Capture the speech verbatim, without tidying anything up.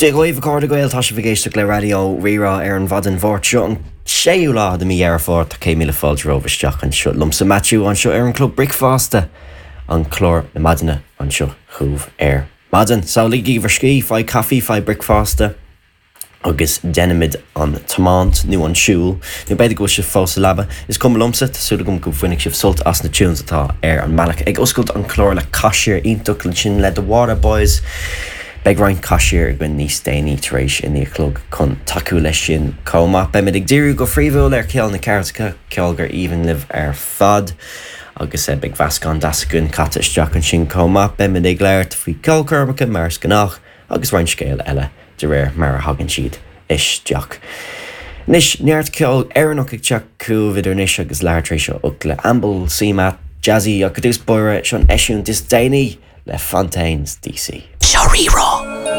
Dia dhaoibh a chairde Gael tá sibh ag éisteacht le Raidió Rí-Rá ar an mhaidin Mháirt seo an séú lá de mí Dheireadh Fómhair tá céad míle fáilte romhaibh isteach anseo liomsa Matthew anseo ar an Club Bricfeasta an clár na maidine anseo chugaibh ar maidin. So ligigí bhur scíth faigh caife faigh bricfeasta agus déanaimid an tiomáint nó an siúl, nó b'fhéidir go bhfuil sibh fós sa leaba. Is cuma liomsa tá súil agam go bhainfidh sibh sult as na tunes atá ar an mbealach ag oscailt an clár le Caiseal iontach ansin le The Waterboys. Beidh roinnt Caiseal againn níos déanaí tar éis a naoi a chlog chun tacú leis sin chomh maith. Beimid ag díriú go príomhúil ar cheol na ceartacha ceol gur aoibhinn libh ar fad. agus eh, beidh meascán deas againn caite isteach ansin chomh maith beimid ag labhairt faoi ceolchoirmeacha mar is gnách agus roinnt scéal eile de réir mar a thagann siad isteach. Anois neart ceol Éireannach ag teacht chugaibh idir anois agus leathuair tar éis a hocht le Amble CMAT Jazzy agus dús bóire seo an eisiúint is déanaí le Fontaines DC. Seo Rí-Rá.